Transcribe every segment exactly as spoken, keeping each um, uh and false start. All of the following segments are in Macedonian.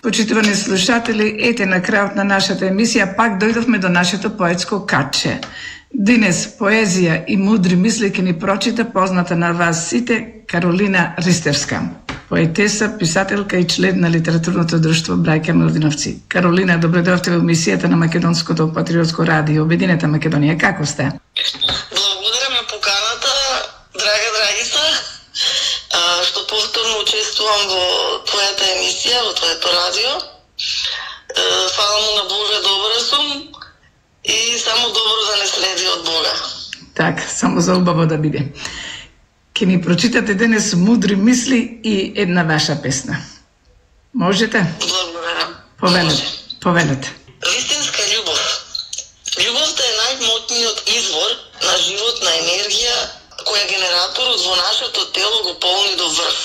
Почитувани слушатели, ете на крајот на нашата емисија пак дојдовме до нашето поетско катче. Денес поезија и мудри мисли ќе ни прочита позната на вас сите Каролина Ристевска, поетеса, писателка и член на литературното друштво Браќа Милдиновци. Каролина, добре дојдовте во емисијата на Македонското патриотско радио Обединета Македонија. Како сте? Благодарам на поканата, драга драгица, што повторно учествувам во твојата емисија, во твоето радио. Фала му на Бога, добра сум и само добро да не следи од Бога. Так, само за убаво да биде. Ке ни прочитате денес мудри мисли и една ваша песна. Можете? Благодарам. Повелете, повелете. Вистинска љубов. Љубовта е најмотниот извор на животна енергија која генераторот во нашето тело го полни до врв.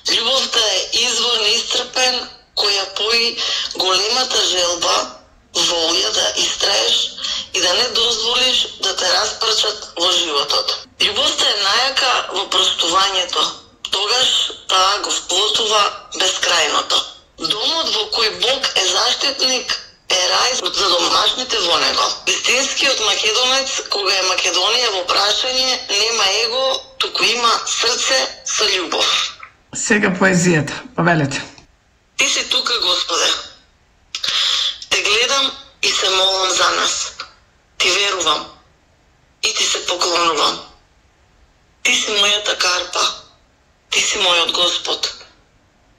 Љубовта е извор неисцрпен која пои големата желба, волја да истраеш и да не дозволиш да те распрчат во животот. Љубовта е најака во простувањето, тогаш таа го вплотува бескрајното. Домот во кој Бог е заштитник е рај за домашните во него. Вистинскиот македонец, кога е Македонија во прашање, нема его, туку има срце со љубов. Сега поезијата, повелете. Ти си тука, Господе. Те гледам и се молам за нас. Ти верувам и ти се поклонувам. Ти си мојата карпа. Ти си мојот Господ.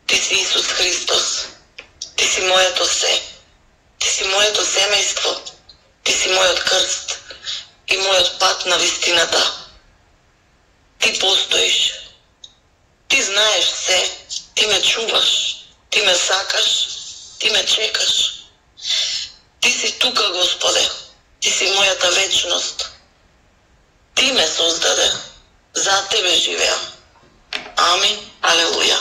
Ти си Исус Христос. Ти си моето се. Ти си моето семејство. Ти си мојот крст и мојот пат на вистината. Ти постоиш. Ти знаеш се. Ти ме чуваш. Ти ме сакаш. Ти ме чекаш. Ти си тука, Господе. Ти си мојата вечност. Ти ме создаде. За Тебе живеам. Амин. Алелуја.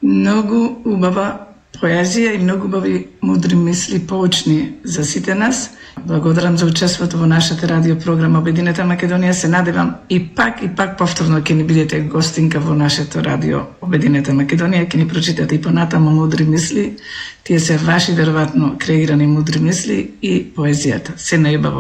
Многу убава поезија и многу убави мудри мисли поучни за сите нас. Благодарам за учеството во нашата радио програма Обединета Македонија. Се надевам и пак и пак повторно ќе ни бидете гостинка во нашето радио Обединета Македонија, ќе ни прочитате и понатаму мудри мисли. Тие се ваши веројатно креирани мудри мисли и поезијата. Се најубаво.